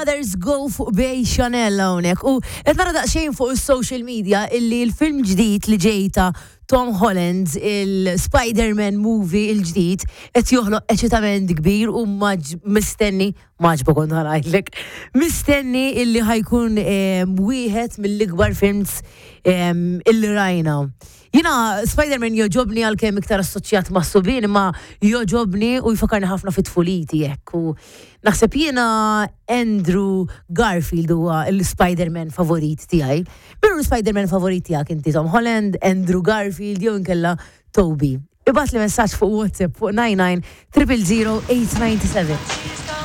Others Go fuq Bay Chanel hawnhekk. U qed nara daqsxejn fuq is-social media illi l-film ġdid li ġej ta' Tom Holland, il-Spider-Man movie il-ġdid, qed joħloq eċitament kbir u mistenni, maġba kont ħanajdlek, mistenni illi ħajkun wieħed mill-ikbar films illi rajna. Jina Spider-Man joġobni għalkemm iktar assoċjat ma' subien, imma joġobni u jfakarni ħafna fit tfuliti hekk. U naħseb jiena Andrew Garfield huwa l-Spider-Man favorit tiegħi. Min hu l-Spider-Man favorit tiegħek inti Tom Holland, Andrew Garfield jew inkella Toby? Ibgħatli messaġġ fuq WhatsApp fuq 99 000 897.